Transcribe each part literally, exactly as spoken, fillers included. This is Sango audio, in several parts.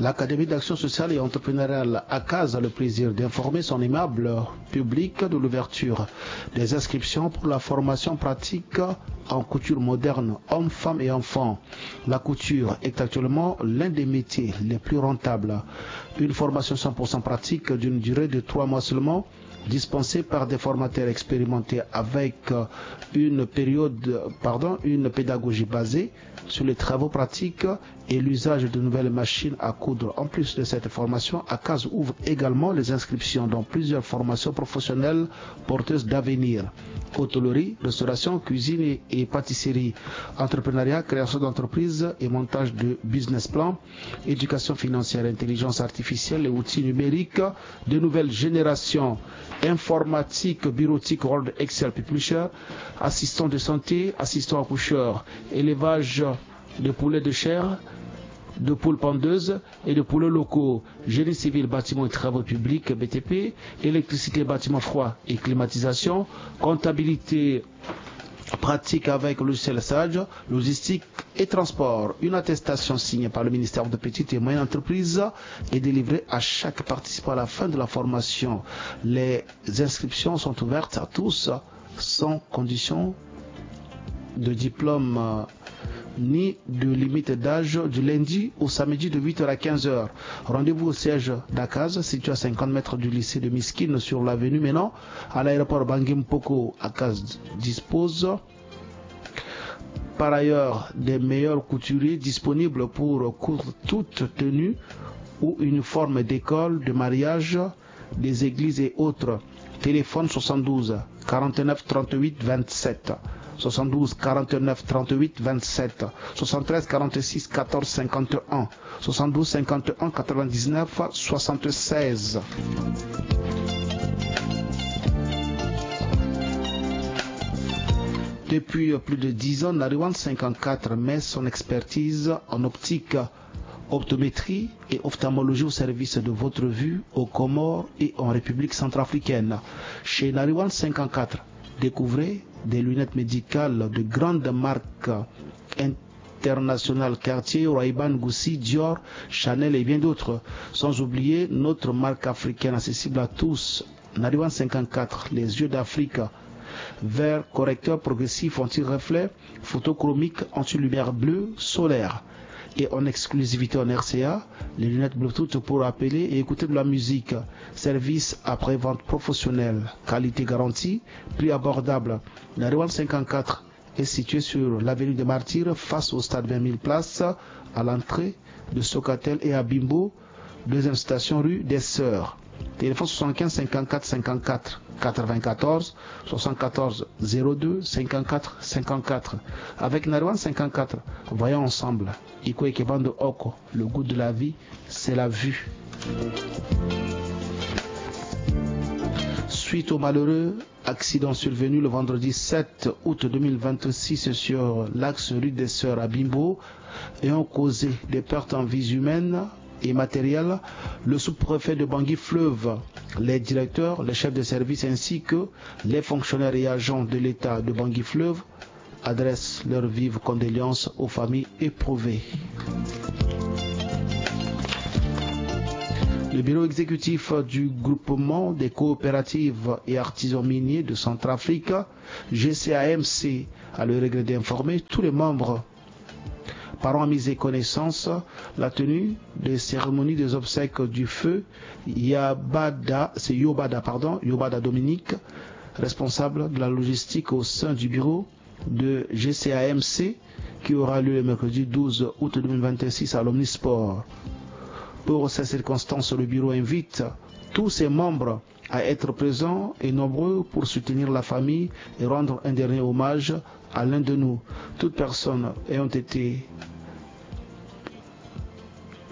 L'Académie d'action sociale et entrepreneuriale Akaz a le plaisir d'informer son aimable public de l'ouverture des inscriptions pour la formation pratique en couture moderne, hommes, femmes et enfants. La couture est actuellement l'un des métiers les plus rentables. Une formation cent pour cent pratique d'une durée de trois mois seulement, dispensée par des formateurs expérimentés avec, euh, une période, pardon, une pédagogie basée sur les travaux pratiques et l'usage de nouvelles machines à coudre. En plus de cette formation, Akaz ouvre également les inscriptions dans plusieurs formations professionnelles porteuses d'avenir. Hôtellerie, restauration, cuisine et, et pâtisserie, entrepreneuriat, création d'entreprise et montage de business plan, éducation financière, intelligence artificielle et outils numériques de nouvelle génération, informatique, bureautique, Word, Excel, publisher, assistant de santé, assistant accoucheur, élevage de poulets de chair, de poules pondeuses et de poulets locaux, génie civil, bâtiment et travaux publics, B T P, électricité, bâtiment froid et climatisation, comptabilité pratique avec logiciel Sage, logistique et transport. Une attestation signée par le ministère de Petites et Moyennes Entreprises est délivrée à chaque participant à la fin de la formation. Les inscriptions sont ouvertes à tous, sans condition de diplôme, euh, ni de limite d'âge, du lundi au samedi de huit heures à quinze heures. Rendez-vous au siège d'Akaz, situé à cinquante mètres du lycée de Miskine sur l'avenue menant à l'aéroport Bangui Mpoko. Akaz dispose par ailleurs des meilleurs couturiers disponibles pour coudre toute tenue ou uniforme d'école, de mariage, des églises et autres. Téléphone soixante-douze quarante-neuf trente-huit vingt-sept, soixante-douze quarante-neuf trente-huit vingt-sept, soixante-treize quarante-six quatorze cinquante et un, soixante-douze cinquante et un quatre-vingt-dix-neuf soixante-seize. Depuis plus de dix ans, Nariwan cinquante-quatre met son expertise en optique, optométrie et ophtalmologie au service de votre vue aux Comores et en République centrafricaine. Chez Nariwan cinquante-quatre, découvrez des lunettes médicales de grandes marques internationales, Cartier, Ray-Ban, Gucci, Dior, Chanel et bien d'autres. Sans oublier notre marque africaine accessible à tous, Nariwan cinquante-quatre, les yeux d'Afrique. Verre correcteur progressif anti-reflet, photochromique, anti-lumière bleue, solaire. Et en exclusivité en R C A, les lunettes Bluetooth pour appeler et écouter de la musique. Service après-vente professionnel, qualité garantie, prix abordable. Nariwan cinquante-quatre est situé sur l'avenue des Martyrs, face au stade vingt mille places, à l'entrée de Socatel, et à Bimbo, deuxième station rue des Sœurs. Téléphone soixante-quinze cinquante-quatre cinquante-quatre quatre-vingt-quatorze, soixante-quatorze zéro deux cinquante-quatre cinquante-quatre. Avec Nariwan cinquante-quatre, voyons ensemble. Iko eke bando oko, le goût de la vie, c'est la vue. Suite au malheureux accident survenu le vendredi sept août deux mille vingt-six sur l'axe rue des Sœurs à Bimbo, ayant causé des pertes en vies humaines et matérielles, le sous-préfet de Bangui Fleuve, les directeurs, les chefs de service ainsi que les fonctionnaires et agents de l'État de Bangui Fleuve adressent leurs vives condoléances aux familles éprouvées. Le bureau exécutif du groupement des coopératives et artisans miniers de Centrafrique, G C A M C, a le regret d'informer tous les membres, parents, amis et connaissances, la tenue des cérémonies des obsèques du feu Yabada, c'est Yobada, pardon, Yobada Dominique, responsable de la logistique au sein du bureau de G C A M C, qui aura lieu le mercredi douze août deux mille vingt-six à l'Omnisport. Pour ces circonstances, le bureau invite tous ses membres à être présents et nombreux pour soutenir la famille et rendre un dernier hommage à l'un de nous. Toutes personnes ayant été,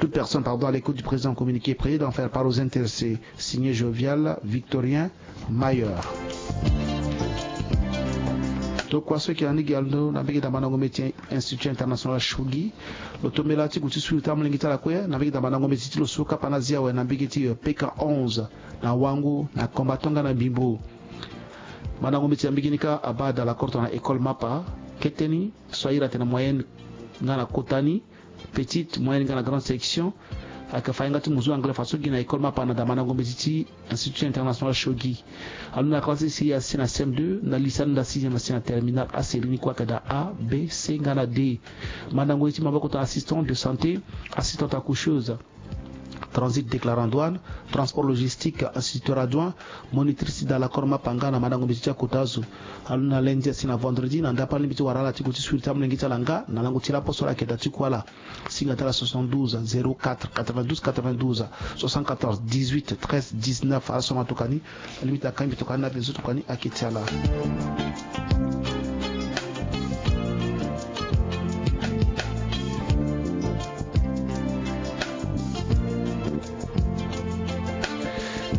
toute personne, pardon, à l'écoute du présent communiqué est priée d'en faire part aux intéressés. Signé Jovial Victorien Mailleur. Tokua so ayeke na ni gi ando na mbege ti ambandango meti Institut International Shogi. Lo tombela ti gue ti sulu ti amolenge ti ala kue na mbege ti ambandango meti ti lo so kapa na azi awe na mbege ti, euh, P K onze na Wango na Kombatonga na Bimbo. Ambandango meti na mbege ni kâ abaa da lakota na école Mapa, kete ni so airi atene moyenne nga na kota ni, petite, moyenne nga na grande section. Ayeke fa yanga ti muzu anglais faso gi na école Mapanda, mandango mbeti ti Institut International Shogi. Alondo na classe si asi na C M deux, na lycée alondo na sixième asi na terminale, aserie ni kue ayeke daa A, B, C nga na D. Mandango ye ti maboko tongana assistant de santé, assistante accoucheuse, transit déclarant douane, transport logistique, instituteur adjoint, monitrice dans l'accord Mapanga na mandango mbeti ti akota azo. Alondo na lundi asi na vendredi, na ndapa alingbi ti wara ala ti gue ti suiri ti amolenge ti ala nga na lango ti laposo ala yeke daa ti kue ala. Singa ti ala soixante-douze zéro quatre quatre-vingt-douze quatre-vingt-douze, soixante-quatorze dix-huit treize dix-neuf. Ala so amatoka ni, alingbi ti akangbi toka ni na avenzo toka ni ayeke ti ala.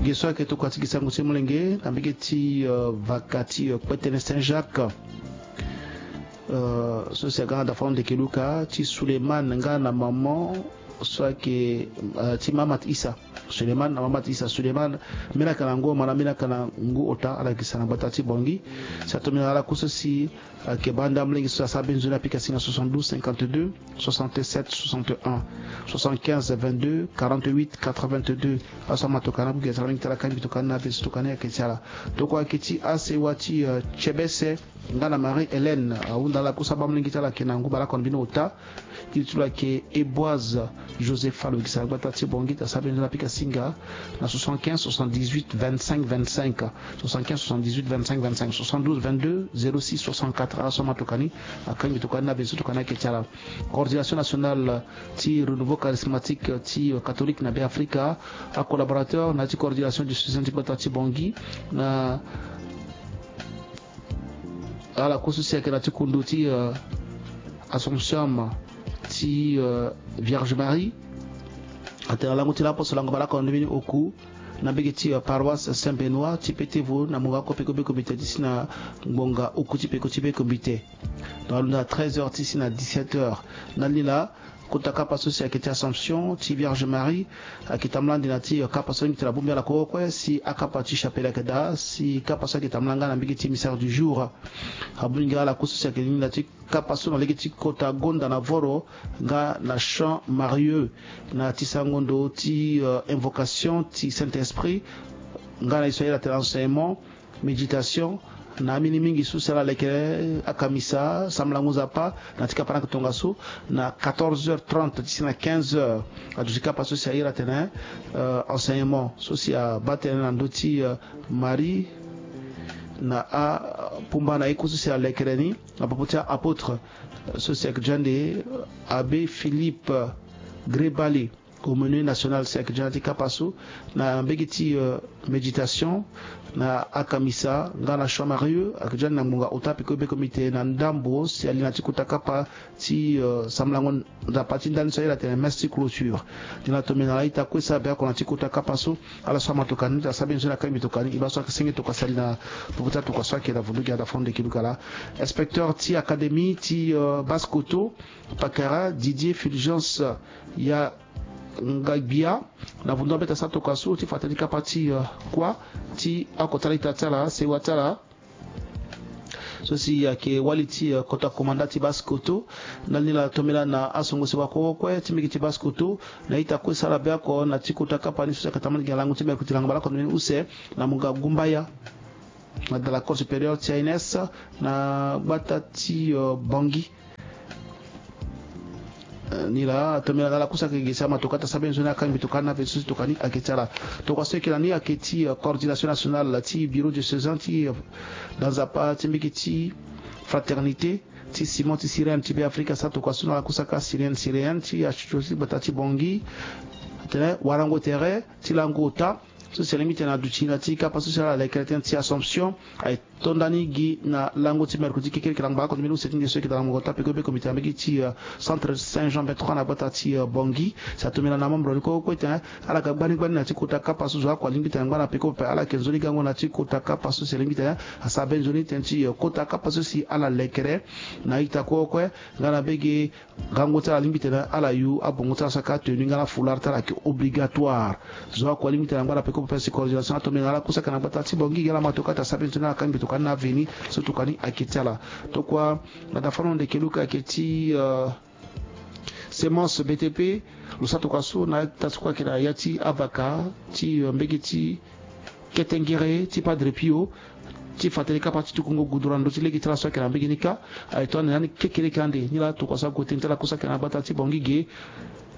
Ge so ayeke tokua ti gi sango ti molenge na mbege ti, euh, vaka ti, euh, Kpetene Saint-Jacques. Euh, so si aga na dafano ndeke luka ti Suleiman nga na maman so ayeke, euh, ti Mamat Issa. Suleiman na Mamat Issa. Suleiman, mbeni ayeke na ngu oma na mbeni ayeke na ngu ota, ala yeke sara na gbata ti Bongi. Si atombi na ala ku so si ayeke banda molenge so asara be nzoni apika singa soixante-douze cinquante-deux soixante-sept soixante-un, soixante-quinze vingt-deux quarante-huit quatre-vingt-deux. Ala so amatoka ni abugi asara mingi ti ala kangbi toka ni na avenzo toka ni ayeke ti ala. Tokua ayeke ti asewa ti, euh, Tiebese nga na Marie Hélène, ahunda ala ku so abaa molenge ti ala ayeke na ngu baleoko na mbeni ota. Iri ti lo ayeke Eboise Josepha, lo yeke sara gbata ti Bongi, asara be nzoni apika singa na soixante-quinze soixante-dix-huit vingt-cinq vingt-cinq, soixante-quinze soixante-dix-huit vingt-cinq vingt-cinq, soixante-douze vingt-deux zéro six soixante-quatre. Ala so amatoka ni akangbi toka ni na avenzo toka ni ayeke ti ala. Coordination nationale ti renouveau charismatique ti, euh, catholique na Beafrika, acollaborateur na ya ti coordination diocésaine ti gbata ti Bongi, na ala ku so si ayeke na ti kundu ti, euh, Assomption ti, euh, Vierge Marie. Atene na lango ti laposo lango baleoko na ndö mbeni oku na mbege ti, euh, paroisse Saint Benoît ti Petevo na mungo oko peko be komite ti si na ngbonga oku ti peko ti be komite. Donc alondo na treize heures ti si na dix-sept heures. Na ni laa kota kapa so si ayeke ti Assomption ti Vierge Marie ayeke tambula ande na ti, euh, kapa so alingbi tene abongbi ala kue kue si akapa ti chapelle ayeke daa si kapa so ayeke tambula nga na mbege ti mystère du jour. Abongbi nga ala ku so si ayeke ni na ti kapa so na lege ti kota gonda na voro nga na Champ Marieux, na ti sango ndo ti, euh, invocation ti Saint-Esprit, nga na ye so ayeke atene enseignement, méditation, na ambeni mingi so si ala lekere akamisa, sambalango Nzapa, na ti kapa ni ayeke tongaso, na quatorze heures trente ti si na quinze heures. Aduti kapa so si ayeke atene, euh, enseignement so si abaa tënë na ndö ti, euh, Marie na apumba na ye ku so si alekere ni na popo ti a-apôtre, euh, so si ayeke ande, euh, Abbé Philippe Grébali, aumônier national, si ayeke ande na ti kapa so na mbege ti, euh, méditation na akamisa nga na Champ Marieux, ayeke ande na ngbonga ota peko be komite na ndambo si ali na ti kota kapa ti, euh, sambalango Nzapa ti ndani so ayeke atene messe ti clôture. Ni laa tongana ala ita kue sara be oko na ti kota kapa so, ala so amatoka ni asara be nzoni akangbi toka ni, e baa so ayeke senge toka si ali na popo ti atoka so ayeke na vundu gi ada fo ndeke luka laa. Inspecteur ti académie ti, euh, Basse-Kotto, Pakara, Didier Fulgence Ya Ngagbia, na vundu ambeta sa toka so ti fa tënë ti kapa ti, euh, kuâ ti oko ti ala ita ti ala, sewa ti ala. So si ayeke wali ti, euh, kota komanda ti Basse-Kotto. Na ni laa tongana na asongo sewa kue kue ti mbege ti Basse-Kotto, na ita kue sara be oko na ti kota kapa ni so si ayeke tambula gi na lango ti mercredi lango baleoko na mbeni use na mungo Gumbaya, na da la Cour supérieure ti A N S, na gbata ti, euh, Bangui. Eh, ni laa tongana na ala ku so ayeke gi si amatoka ti asara be nzoni akangbi toka ni na avenzo ti toka ni ayeke ti ala. Tokua so ayeke na ni ayeke ti, euh, coordination nationale ti bureau diocésain ti, euh, da Nzapa ti mbege ti Fraternité ti Simon ti Cyrène ti Beafrika, asara tokua so na ala ku so ayeke asyrienne, syrienne ti atsotso ti gbata ti Bangui. Atene warango tere ti lango ota so si alingbi tene aduti na ti kapa so si ala lekere tënë ti Assomption, aye to ndani gi na lango ti mercredi kekereke lango baleoko na mbeni use ti nde so ayeke daa na mungo ota peko be komite na mbege ti, euh, centre Saint Jean vingt-trois na gbata ti, euh, Bangui. Si atongana na amembre ni kue kue tene ala ga gbani gbani na ti kota kapa so zo oko alingbi tene angba na peko pepe, ala yeke nzoni gango na ti kota kapa so si alingbi tene asara be nzoni tënë ti, euh, kota kapa so si ala lekere na ita kue kue nga na mbege Gango ti ala alingbi tene ala yu abongo ti ala so ayeke atenu nga na foulard ti ala ayeke obligatoire. Zo oko alingbi tene angba na peko pepe si coordination atongbi na ala ku so ayeke na gbata ti Bangui gi ala ma toka ti asara be nzoni ala kangbi toka ni na aveni so toka ni ayeke ti ala. Tokua na da fano ndeke luka ayeke ti, euh, Semence B T P, lo sara tokua so na ita so kue ayeke na ya ti avaka ti, euh, mbege ti ketengere ti Padre Pio, ti fa tënë kapa ti tukungo gudura na ndö ti lege ti ala so ayeke na mbege ni kâ. Aye to ande na ni kekereke ande ni laa tokua so ague tënë ti ala kue so ayeke na gbata ti Bangui ge,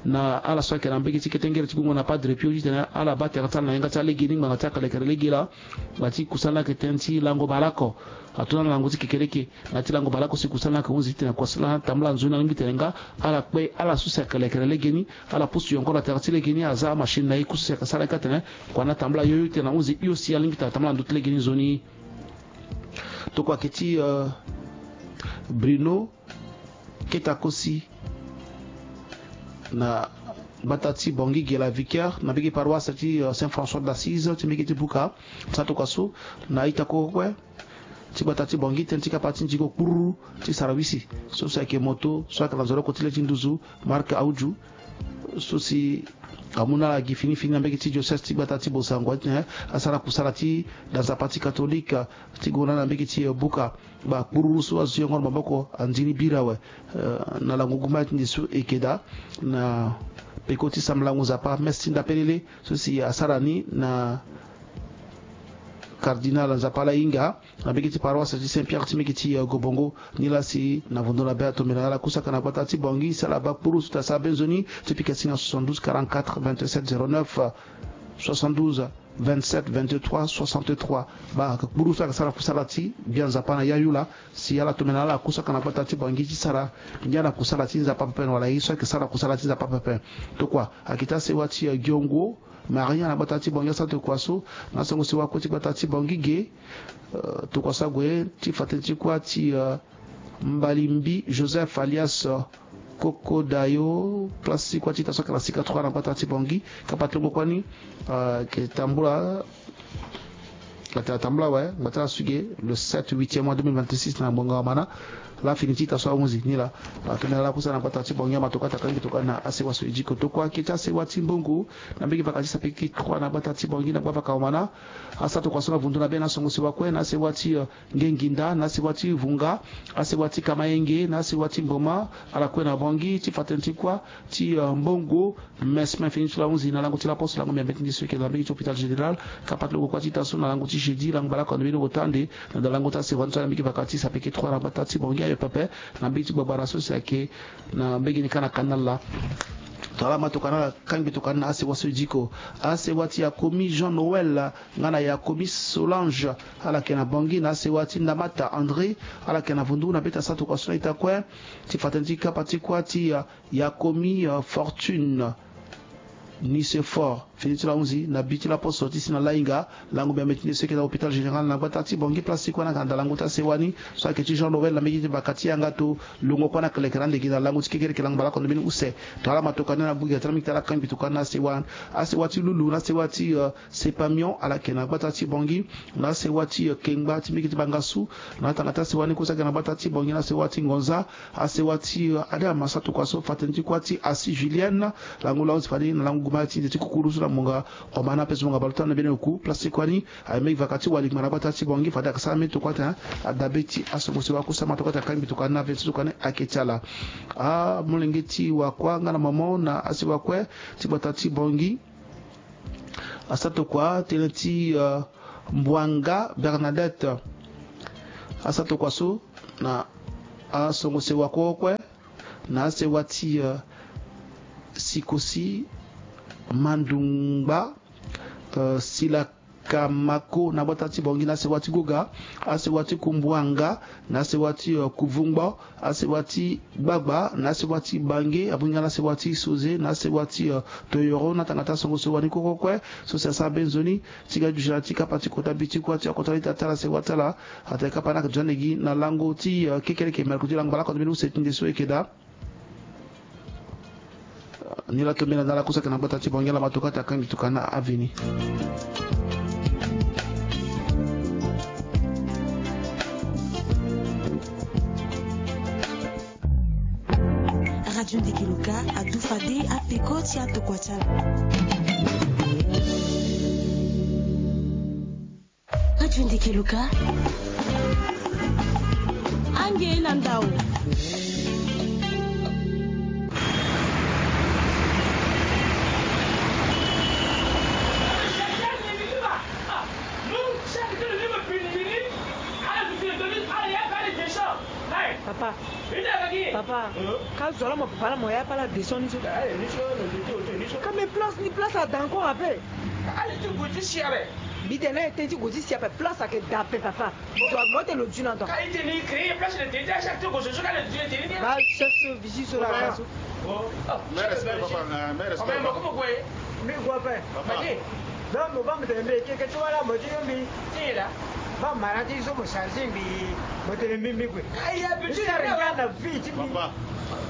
na ala so ayeke na mbege ti ketengere ti gungo na Padre Pio titene ala baa tere ti ala na yanga ti ala lege ni ngbanga ti akelekere lege laa. Ngbanga ti kusala ni ayeke tënë ti lango baleoko. Ato na lango ti kekereke. Na ya ti lango baleoko si kusala ni ayeke hunzi titene kua sala na tambula nzoni alingbi tene nga ala kpe ala so si akelekere legeni, ala pusu yongoro na tere ti legeni, aza amachine na ye kue so si ayeke sara ye kâ tene kua ni atambula yoyo titene ahunzi hio si alingbi tene atambula na ndö ti legeni nzoni. Tokua ayeke ti, euh, Bruno Ketakosi na gbata ti Bangui ge la Vicaire na mbege paroisse ti, euh, Saint François d'Assise ti mbege ti Buka. Sara tokua so na ita kue kue ti gbata ti Bangui tënë ti kapa ti nzingo kpururu ti sarawisi so si ayeke moto so ayeke na nzoloko ti le ti nduzu marque Auju so si amu na ala gi fini fini na mbege ti diocèse ti gbata ti Bossangoa titene asara kusala ti da nzapa ti katolike ti gue na mbege ti, euh, Buka. Baa kpururu so azo ti yongoro maboko andi ni bira awe, euh, na lango gumba ti nde so e yeke daa na peko ti sambela ngu nzapa messe ti ndapelele so si asara ni na cardinal Nzapa Lahinga na mbege ti paroisse ti Saint Pierre ti mbege ti, euh, Gobongo. Nilaa si na vondo na be atombela na ala kusaka na gbata ti Bangui si ala baa kpururu so tene asara be nzoni ti pika si na soixante-douze quarante-quatre vingt-sept zéro neuf, soixante-douze vingt-sept vingt-trois soixante-trois. Baa kpururu so ayeke sara kusala ti gbia nzapa na yayu laa si ala tombela na ala kusaka na gbata ti Bangui ti sara ngia na kusala ti nzapa pepe na wala ye so ayeke sara kusala ti nzapa pepe. Tokua ayeke ti asewa ti, euh, Giongo Maria na gbata ti Bangui asara tokua so na asango sewa kue ti gbata ti Bangui ge. Euh, tokua so ague ti fa tënë ti kuâ ti, euh, Mbalimbi Joseph alias, euh, Kokodayo, place ti kuâ ti ita so ayeke na sika trois na gbata ti Bangui. Kapa ti longo kuâ ni, euh, ayeke tambula, ayeke tambula awe ngbata ti ala so ge le sept huitième mois deux mille vingt-six na ngbonga wamana. Laa fini ti ita so ahunzi ni laa. Atene ala kusana na gbata ti Bangui, amatoka ti akangbi tokua na asewa so e diko. Tokua ayeke ti asewa ti Mbongo na mbege vaka ti sapeki trois na gbata ti Bangui na gbavaka wamana. Asara tokua so na vundu na be na asango sewa kue na asewa ti, euh, Ngenginda, na asewa ti Vunga, asewa ti Kamayenge, na asewa ti Mboma, ala kue na Bangui, ti fa tënë ti kuâ ti, euh, Mbongo Mesmin fini ti lo ahunzi na lango ti laposte, lango mbi ambeti nde so e yeke na mbege ti hôpital général. Kapa ti lo gue kuâ ti ita so na lango ti jeudi, lango baleoko ande mbeni ota ande na ndo lango ti asewa ni so na mbege vaka ti sapeki trois na gbata ti Bangui ayo pepe, na mbege ti gbagbara so si ayeke na mbege ni kâ na kanal laa. Tongana ala ma tokua na ala kangbi tokua ni na asewa so e diko. Asewa ti Yakomi Jean Noël nga na Yakomi Solange, ala yeke na Bangui, na asewa ti Ndamata André, ala yeke na Vundu, na be ti asara tokua so na ita kue ti fa tënë ti kapa ti kuâ ti, euh, Yakomi, euh, Fortune Nicéphore fini ti lo ahunzi na bi ti laposte ti si na Lahinga. Lango mbi ambeti nde so e yeke na hôpital général na gbata ti Bangui, place ti kuâ ni ayeke na ndo lango ti asewa ni so ayeke ti Jean Noël na mbege ti vaka ti yanga to. Longo kuâ ni akelekere ande gi na lango ti kekereke lango baleoko ande mbeni use. Tongana ala ma tokua ni na bui ga ti ala mingi ti ala kangbi tokua ni na asewa, asewa ti Lulu, na asewa ti, euh, Sepamion, ala yeke na gbata ti Bangui, na asewa ti, euh, Kengba ti mbege ti Bangassou, na atanga ti asewa ni kue so ayeke na gbata ti Bangui, na asewa ti Ngonza, asewa ti, euh, Adam, asara tokua so fa tënë ti kuâ ti Assi Julienne, lango lo ahunzi fade na lango guma ti nze ti kukuru so na ngbonga wamana ape so ngbonga baleota na mbeni oku, place ti kuâ ni aye mbeni vaka ti waligma na gbata ti Bangui, fade ayeke sara mbeni tokua atene adabe ti asango sewa kue so ama tokua atene akangbi tokua ni na aventure tokua ni ayeke ti ala. Amolenge ti wa kuâ nga na mama na asewa kue ti gbata ti Bangui. Asara tokua tënë ti, euh, Mbwanga Bernadette. Asara tokua so na asango sewa kue kue na asewa ti, euh, Sikosi Mandungba, euh, Sila Kamako na gbata ti Bangui, na asewa ti Goga, asewa ti Kumbwanga, na asewa ti, euh, Kuvungbo, asewa ti Gbagba, na asewa ti Bange, abungi nga na asewa ti Soze, na asewa ti, euh, Toyoro, na tanga ti asango sewa ni kue kue kue so si asara be nzoni ti ga duti na ti kapa ti kota bi ti kuâ ti akota lita ti ala sewa ti ala. Atene kapa ni ayeke duti ande gi na lango ti, euh, kekereke mercredi lango baleoko ande mbeni use ti nde so e yeke daa. Ni la tombela na ala kue so ayeke na gbata ti Bangui, ala ma tokua ti akangbi tokua na aveni. Radio Ndeke Loka adu fade apeko ti atokua ti ala. Radio Ndeke Loka. Ange na ndau. Ka zo ala mo papa la mo ya pa ala descend ni so. Ka mais place ni place ada encore ape. Mbi tene na ete ti gue ti si ape place ayeke da ape papa. Mo tene lo du na ndo. Ba chef so vigie so la ka so. Mbi gue ape. Donc mo baa mo tene mbi eke eke ti wala mo ti yo mbi. Ti nyen laa? Baa mara ti so mo charge mbi. Mo tene mbi mbi gue. Aya mbi ti sara nga na vie ti mbi. Papa.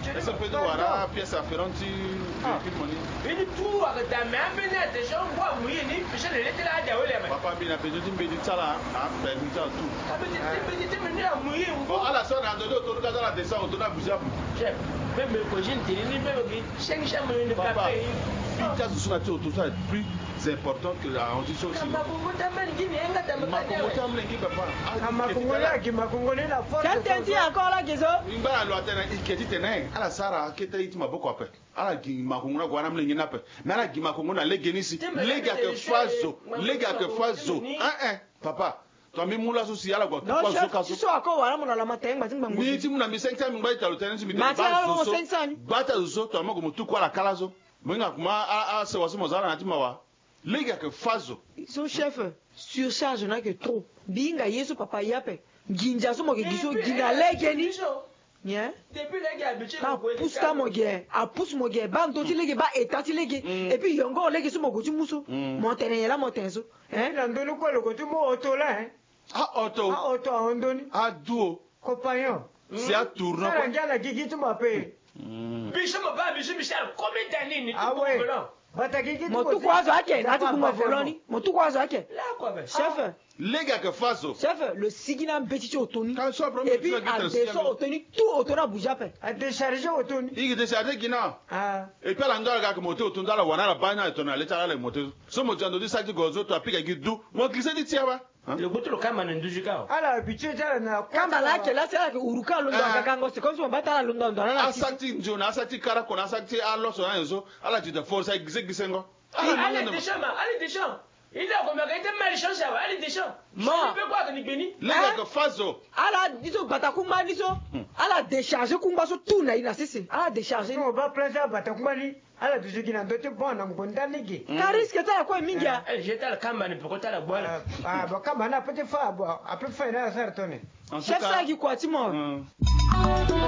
Est-ce que peut wara pièce afférente ti véhicule mo ni? Mbi ni tout ayeke daa mais ambeni adescend ngu amu ye ni pese na le ti la ade awe le ape. Papa mbi na besoin ti mbi ti sara apermis ti ala tout. Mbi ti mbi ti mbi ni amu ye ngu. Bon ala so na ndo ti oto ni ka so ala descend oto ni abuzi abuzi. Chef, meme ko je ntene ni meme ki. Papa, mbi ti azo so na ti oto so ayeke plus important que ahon ti so si. Makongo ti ambeni ngi papa. Makongo ti ambeni ngi papa. Makongo ti ambeni ngi papa. Tënë ti encore la gezo. Mbi ngba na lo atene ike ti tene ala sara akete ye ti maboko ape. Ala gi makongo na gue wani ambeni ngi ni ape. Mais ala gi makongo na lege ni si. Lege ayeke fâ zo. Lege ayeke fâ zo. Hein hein. Papa. Tongana mbi mu laso si ala gue atuku azo so ka so. Ni ti mu na mbi cinq cent mille ngba ti talo tënë ni si mbi tene gba ti azo so. Gba ti azo so tongana mo gue mo tuku ala ka laso. Mo hinga kuma asewa so mo za ala na ya ti mawa. Lege ayeke fâ zo. So chef, surcharge ni ayeke trop. Mbi hinga ye so papa ye ape. Nginza so mo yeke gi so gi na lege ni. Nyen? Ka apusu ka mo ge apusu mo ge baa ndö ti lege baa eta ti lege. Et puis yongoro lege so mo gue ti mu so. Mo tene nyen laa mo tene so? Hein? Na ndö ni kue lo gue ti mu oto laa hein. Aoto. Aoto ahon ndö ni. Aduo. Compagnon. Si atourno kue. Sara ngia na gigi ti mo ape. Biso mo baa biso biso ala combien d'années ni ti. Awe. Bata gigi ti mo tuku azo ake na ti bungo volo ni mo tuku azo ake. Chef. Lege ayeke fâ zo. Chef, lo sigi na mbeti ti oto ni. Et puis ade so oto ni tout oto ni abuzi ape. Adécharge oto ni. I yeke décharge gi na. Et puis ala nga ala ga ayeke moto oto ni ala wara na ala baa ni ala tongana na le ti ala ala yeke moto so mo dia ndo ti saki ti gonzo to apika gi du mo glisse ti ti awe. Lo gbu ti lo kamba na nduzu ka. Ala habitué ti ala na kamba la ake la si ala yeke huru ka londo agagango c'est comme si mo baa ti ala londo ando na ala. Asaki ti nzio na asaki ti kara kona asaki ti aloso na nyen so. Ala ti da force aye gise gisengo. Ala décharge ma ala décharge. Il a comme que ete mari chance awa ala décharge. Mo pe kwa ni gbeni. Lege ayeke fâ zo. Ala ni so bata kungba ni so. Ala décharge kungba so tout na ye na sese ala décharge ni. Mo baa place ala bata kungba ni. Ala duzu gi na ndö ti bon na ngbonda lege. Ka risque ti ala kue mingi a. Je ti ala kamba ni peko ti ala gbu ala. Bon kamba ni ape ti fa bon ape fa ye ni ala sara tone. Chef sara gi kua ti mo.